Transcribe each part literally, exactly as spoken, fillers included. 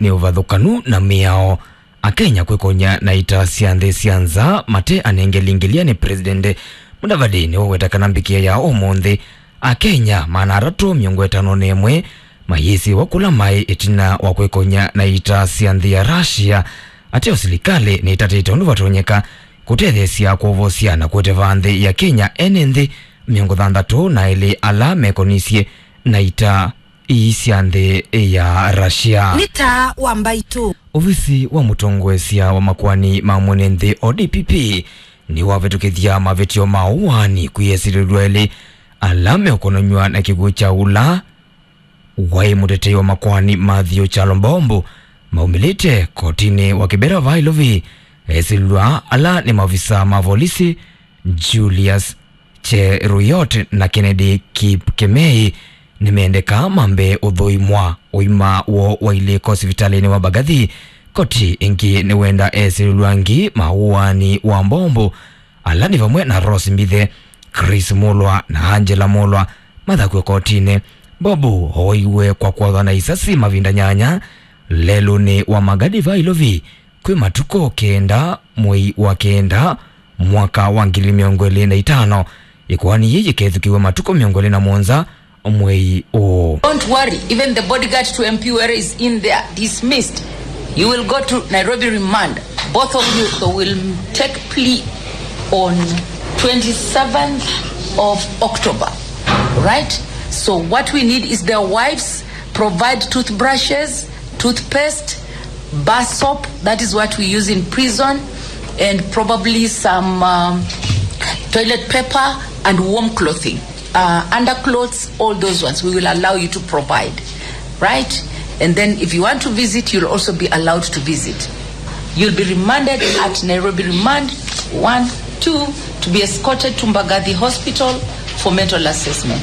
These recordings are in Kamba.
nĩ ũvathũkanu na mĩao. Akenya kwĩkony'a na ita sya nthĩ sya nza mate anenge lingĩlia nĩ President Mudavadi nĩwaweta kana mbikĩa ya ũmũnthĩ Akenya maana atatũ mĩongo ĩtano na ĩmwe mayĩsĩwa kũla maĩ ĩtina wa kwĩkony'a na ita sya nthĩ ya Russia. Ateo silikalĩ nĩtatĩte ũndũ vatonyeka kũtetheesya kwovosya na kũete vaa nthĩ ya Kenya ene nthĩ mĩongo thanthatũ na elĩ ala mekonisye na ita ii sya nthĩ ya Russia. Nĩ taa wa mbaitũ. Ovisi wa mũtongoesya wa makoani ma mwene nthĩ, O D P P, nĩwavĩtũkĩthya mavĩtyo ma ũaani kwĩ esĩlĩlw'a elĩ ala meũkonanw'a na kĩkw'ũ kya ũla waĩ mũtetei wa makoani Matthew Kyalo Mbombo maumĩlĩte kotinĩ wa Kibera vaa Ilovi. Esĩlĩlw'a ala nĩ maovisaa ma volisi Julius Cheruiyot na Kennedy Kipkemei nĩmendekaa mambe ũthũimwa ũima woo wa ilĩko sivitalĩnĩ wa Mbagathi. Koti ĩngĩ nĩwenda esĩlĩlw'a angĩ ma ũaani wa Mbombo, ala nĩ vamwe na Rose Mbithe, Chris Mulwa na Angela Mulwa, mathakw'e kotinĩ. Mbombo ooiwe kwa kwothwa na isasi mavinda nyanya lelũnĩ wa Magadi vaa Ilovi kwĩ matukũ kenda mwei wa kenda mwaka wa ngili mĩongo ĩlĩ na itano. Ĩkoani yĩĩ yĩkethukĩw'a matukũ mĩongo ĩlĩ na mũonza mwei ũũ. Don't worry, even the bodyguard to M P Were is in there, dismissed. You will go to Nairobi remand. Both of you will take plea on twenty-seventh of October, right? So what we need is their wives provide toothbrushes, toothpaste, bar soap, that is what we use in prison, and probably some um, toilet paper and warm clothing, uh, underclothes, all those ones we will allow you to provide, right? And then if you want to visit, you'll also be allowed to visit. You'll be remanded at Nairobi Remand one, two, to be escorted to Mbagathi Hospital for mental assessment.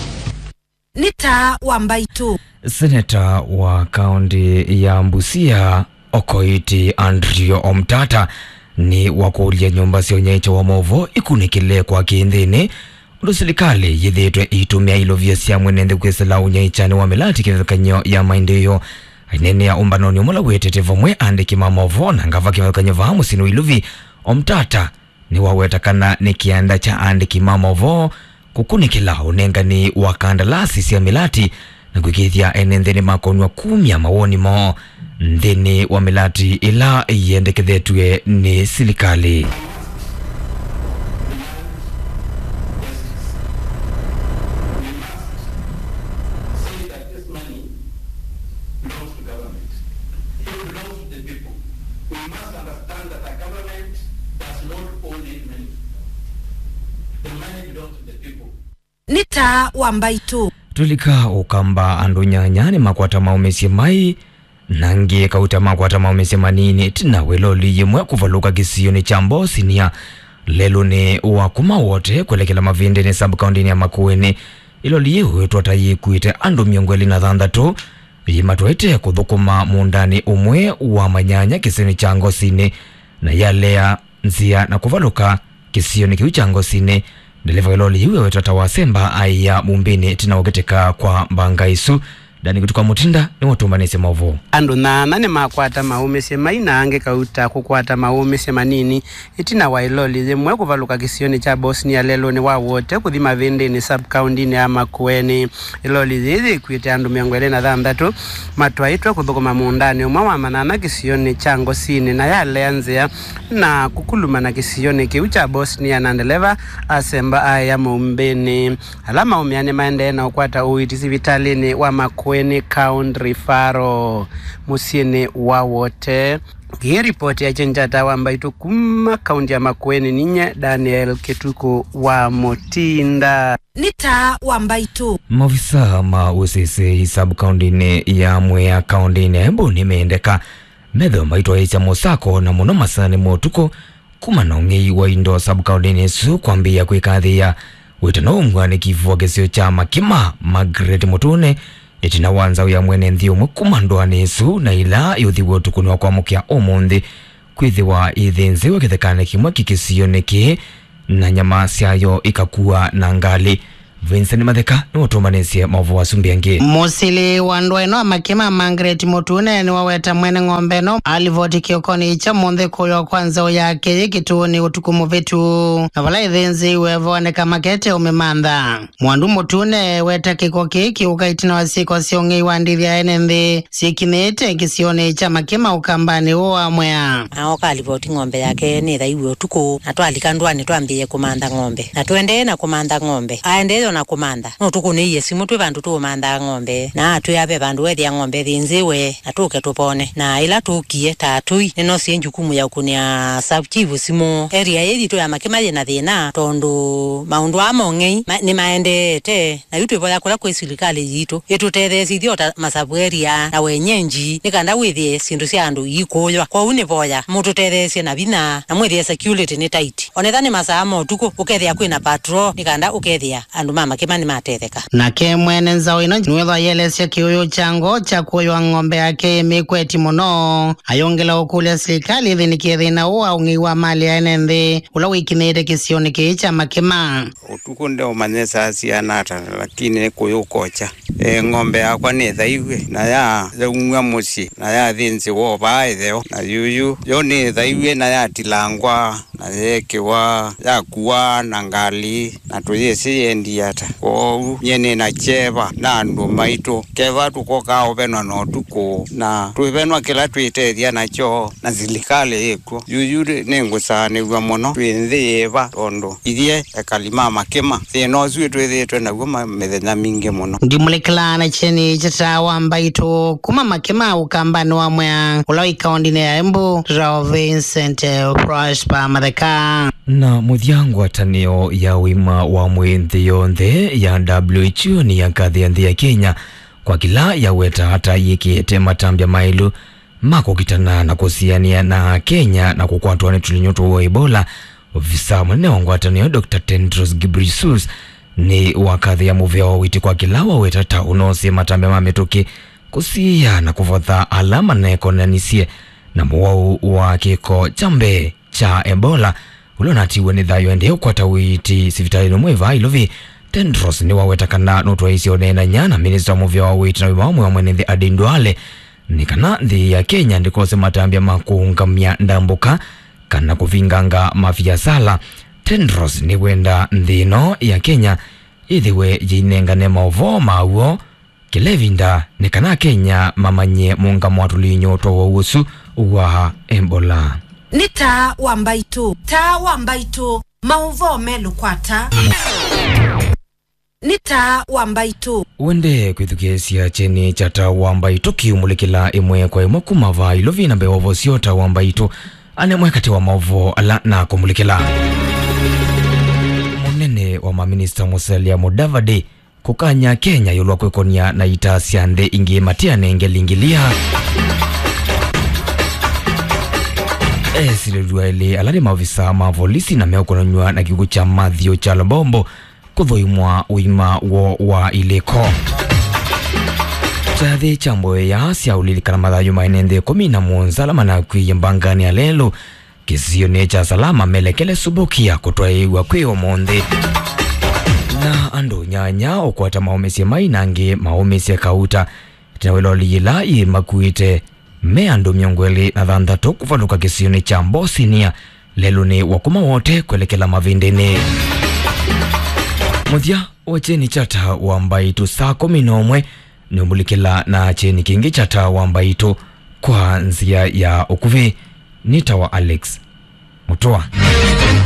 Nĩ taa wa mbaitũ. Seneta wa kaũntĩ ya Busia, Okoiti Andrew Omtata, nĩwakũlya nyũmba sya ũnyaĩĩkya wa maũvoo ikunĩkĩle kwa kĩĩ nthĩnĩ, ũndũ silikalĩ yĩthĩĩtwe ĩitũmĩa ilovia sya mwene nthĩ kwĩsĩla ũnyaĩĩkyanĩ wa mĩlatĩ kĩvathũkany'o ya maendeeo. Aineenea ũmbanonĩ ũmwe ũla wĩtĩte vamwe aandĩki ma maũvoo na ngava kĩvathũkany'o vaa mũsyĩnĩ wa Ilovi, Omtata nĩwaweta kana nĩ kĩanda kya aandĩki ma maũvoo kũkunĩkĩla ũnengani wa kandalasi sya mĩlatĩ na kwĩkĩĩthya ene nthĩ nĩmakonw'a kumya mawoni moo nthĩnĩ wa mĩlatĩ ĩla ĩyendekethetw'e nĩ silikalĩ. This money belongs to government. It belongs to the people. We must understand that the government does not own any money. The money belongs to the people. Nĩ taa wa mbaitũ. Tũlika ũkamba andũ nyanya nĩmakwata maũmĩsye mai, na angĩ kauta makwata maũmĩsye manini ĩtina wa ĩloli yĩmwe kũvalũka kĩsionĩ kya Bosnia lelũnĩ wa kuma Wote kwelekela Mavindĩnĩ sub-kaũntĩnĩ ya Makueni. Ĩloli yĩu ĩtwata yĩkuĩte andũ mĩongo ĩlĩ na thanthatũ, yĩmatwaĩte kũthũkũma mũũndanĩ ũmwe wa manyanya kĩsionĩ kya Ngosinĩ, na yalea nzĩa na kũvalũka kĩsionĩ kĩu kya Ngosinĩ. Ndeleva wa ĩloli yĩu ewetwa ta Wasemba aia Mumbĩnĩ ĩtina wa kũkĩtĩka kwa mbanga ĩsu. Dani Kutuka Mutinda nĩwatũmbanĩsye maũvoo. Andũ nyaanya nĩmakwata maũmĩsye mai na angĩ kauta kũkwata maũmĩsye manini ĩtina wa ĩloli yĩmwe kũvalũka kĩsionĩ kya Bosnia lelũnĩ wa Wote kũthi Mavindĩnĩ sub-kaũntĩnĩ ya Makueni. Ĩloli yĩĩ yĩkuĩte andũ mĩongo ĩlĩ na thanthatũ matwaĩtwe kũthũkũma mũũndanĩ ũmwe wa manyanya kĩsionĩ kya Ngosinĩ na yalea nzĩa na kũkulumana kĩsionĩ kĩu kya Bosnia na ndeleva asemba aĩa Mumbĩnĩ. Ala maũmĩa nĩmaendee na ũkwata ũiiti sivitalĩnĩ wa Makueni County Referral mũsyĩnĩ wa Wote. Ngĩĩ ripoti ya Chenjata wa Mbaitũ kuma kaũntĩ ya Makueni, ninye Daniel Kĩtukũ wa Mũtinda. Nĩ taa wa Mbaitũ. Maovisaa ma ũsĩsĩi sub-kaũntĩnĩ ya Mwea kaũntĩnĩ ya Embu nĩmendeka methĩwe maitwaĩĩsya mũsako na mũno masaanĩ ma ũtukũ kumana na ũng'ei wa indo sub-kaũntĩnĩ ĩsu kwambĩĩa kwĩkathĩĩa. Wĩtano ũmwe nĩ kivu wa kĩsio kya Makima, Margaret Mũtũne, ĩtina wa nzaũ ya mwene nthĩ ũmwe kuma ndũanĩ ĩsu na ĩla yũthiwe ũtukũnĩ wa kwamũkĩa ũmũnthĩ kwĩthĩwa ĩthĩnzĩwe kĩthekanĩ kĩmwe kĩ kĩsionĩ kĩĩ, na nyama syayo ikakua na ngalĩ. Vincent Matheka nĩũtũmanĩsye maũvoo asu mbĩ angĩ. Mũsili wa ndũa ĩno Makima, Margaret Mũtune, nĩwaweta mwene ng'ombe ĩno alivoti kĩokonĩ kya mũnthĩ kũywa kwa nzaũ yake yĩ kĩtũũnĩ ũtukũ mũvĩtu, na vala ĩthĩnzĩiwe vooneka makete ũmĩmantha. Mwandu Mũtune weta kĩko kĩĩ kĩũka ĩtina wa syĩko sya ũng'ei wa ndithi ya ene nthĩ syĩkinyĩte kĩsionĩ kya Makima ũkambanĩ ũũ wa Mwea. Na oka alivoti ng'ombe yake nĩthaiwe ũtukũ, na twalika ndũanĩ twambĩĩe kũmantha ng'ombe, na tũendee na kũmantha ng'ombe. Aendee o na kũmantha, nũtũkũnĩie simũ twĩ vandũ tũũmanthaa ng'ombe, na atwĩa ve vandũ wethĩa ng'ombe ĩthĩnzĩwe, na tũke tũvone. Na ĩla tũkie ta atũi, nĩnosie njukumu ya ũkũnĩa sub chief simũ. Area ĩĩ yitũ ya Makima yĩ na thĩna, tondũ maũndũ aa ma ũng'ei ma-, nĩmaendeete, na yu twĩvoya kũla kwĩ silikalĩ yitũ ĩtũtetheesye ithyĩ o ta masavu area na wenyenji, nĩ kana wĩthĩe syĩndũ sya andũ iikũywa. Kwoou nĩvoya mũtũtetheesye na vinya, na mwĩthĩe security nĩ tight. Onetha nĩ masaa ma ũtukũ, ũkethĩa kwĩ na patrol, nĩ kana ũkethĩa andũ ma Makima nĩmatetheka. Nake mwene nzaũ ĩno nĩwĩthwa yelesya kĩũyũ kya ngoo kya kũywa ng'ombe yake mĩkweti mũno. Ayongela ũkũlya silikalĩ ĩthĩnĩkĩe thĩna ũũ wa ũng'ei wa malĩ ya ene nthĩ ũla wĩkinyĩte kĩsionĩ kĩĩ kya Makima. Ũtukũ ndeũmanya saa siana ata, lakini nĩ kũyũkokya. E, ng'ombe yakwa nĩthaiw'e na ya-, yaumw'a mũsyĩ na yathĩnzĩwa o vaa ĩtheo. Na yuyu yo nĩthaiw'e na yatilangwa na yeekĩwa, yakuwa na ngalĩ, na tũyĩsĩ yendie ata. Kwoou nyie nĩ na kyeva na andũ maitũ, keva tũkokaa ũvenwa na ũtukũ, na twĩvenwa kĩla twĩtethya nakyo, na silikalĩ yĩkw'o. Yuyu nĩngũsaanĩw'a mũno twĩ nthĩ yĩva, tondũ ithyĩ ekali ma Makima, thĩna ũsu twĩthĩĩtwe naw'o ma-, mĩthenya mingĩ mũno. Ndimũlĩkĩlaa na kyeni kya taa wa mbaitũ kuma Makima ũkambanĩ wa Mwea, ũla wĩ kaũndĩnĩ ya Embu, Rao Vincent, eh, Prosper Matheka. Na mũthya, ngwatanĩo ya ũima wa mwĩĩ nthĩ yonthe ya W H O nĩyakathĩa nthĩ ya Kenya kwa kĩla yaweta ata yĩkĩĩte matambya maĩlu ma kũkitana na kũsianĩa na Akenya na kũkwatwa nĩ tũlinyũ twa Ebola. Ovisa mũnene wa ngwatanĩo, Doctor Tedros Ghebreyesus, nĩwakathĩa mũvĩa wa ũiiti kwa kĩla waweta ta ũnoosie matambya ma mĩtũkĩ, kũsiĩĩa na kũvotha ala manekonanisye na mũwau wa kĩko kya mbee kya Ebola, ũla ũnatiwe nĩ thayũ aendee ũkwata ũiiti sivitalĩnĩ ũmwe vaa Ilovi. Tedros nĩwaweta kana nũtwaĩĩsye ũneenany'a na minista wa mũvĩa wa ũiiti na ũima wa mwĩĩ wa mwene nthĩ Aden Duale, nĩ kana nthĩ ya Kenya ndĩkose matambya ma kũũngamya ndambũka kana kũvinganga maviasala. Tedros nĩwenda nthĩ ĩno ya Kenya yĩthĩwe yĩinengane maũvoo ma w'o kĩla ĩvinda, nĩ kana Akenya mamanye mũũngamo wa tũlinyũ twa ũwau ũsu wa Ebola. Nĩ taa wa mbaitũ, taa wa mbaitũ, maũvoo melũ kwa taa. Nĩ taa wa mbaitũ. Wendee kwĩthukĩĩsya kyeni kya taa wa mbaitũ kĩumũlĩkĩla ĩmwe kwa ĩmwe kuma vaa Ilovi na mbee wa ũvosyo. Taa wa mbaitũ, ane mwe katĩ wa maũvoo ala na kũmũlĩkĩla. Mũnene wa maminista Musalia Mudavadi kũkany'a Kenya ĩũlũ wa kwĩkony'a na itaa sya nthĩ ingĩ matianenge lingilia. Esilĩlw'a elĩ ala nĩ maovisa ma volisi na meũkonanw'a na kĩkw'ũ kya Matthew Kyalobombo kũthũimwa ũima woo wa ilĩko. Kyathĩ kya mboya sya ũlilikana mathayũ ma ene nthĩ ĩkũmi na mũonza ala manakw'ĩie mbanganĩ ya lelũ kĩsionĩ kya Salama melekele Subukia kũtwaĩĩw'a kwĩ ũmũnthĩ. Na andũ nyanya ũkwata maũmĩsye mai na angĩ maũmĩsye kauta ĩtina wa ĩloli yĩla yĩmakuĩte me andũ mĩongo ĩlĩ na thanthatũ kũvalũka kĩsionĩ kya Bosinia lelũnĩ wa kuma Wote kwelekela Mavindĩnĩ. Mũthya wa kyeni kya taa wa mbaitũ saa kũmi na ũmwe nĩũmũlĩkĩla na kyeni kĩngĩ kya taa wa mbaitũ kwa nzĩa ya ũkuvĩ. Nĩ ta wa Alex Mũtũa.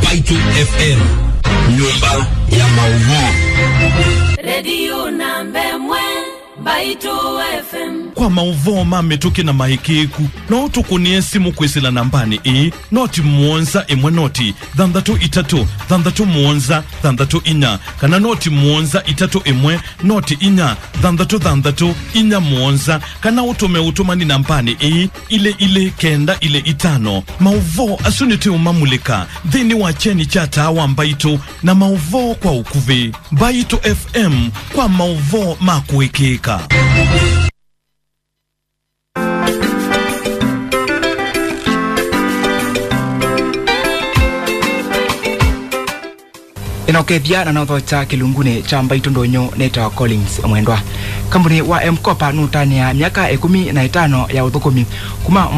Mbaitũ F M, nyũmba ya maũvoo. Redio namba ĩmwe, Mbaitũ F M. Kwa maũvoo ma mĩtũkĩ na maĩkĩĩku, no ũtũkũnĩe simũ kwĩsĩla nambanĩ ĩĩ, noti mũonza ĩmwe noti thanthatũ itatũ thanthatũ mũonza thanthatũ inya, kana noti mũonza itatũ ĩmwe noti inya thanthatũ thanthatũ inya mũonza, kana ũtũme ũtũmani nambanĩ ĩĩ, ilĩ ilĩ kenda ilĩ itano. Maũvoo asu nĩtũũmamulĩka nthĩnĩ wa kyeni kya taa wa mbaitũ na maũvoo kwa ũkuvĩ. Mbaitũ F M kwa maũvoo ma kũĩkĩĩka. Na ũkethya na nothokya kĩlungunĩ kya mbaitũ ndũnyũ nĩtawa Collins Mwendwa. Kambuni wa M-Kopa nũtanĩa myaka ĩkũmi na ĩtano ya ũthũkũmi kuma mwaka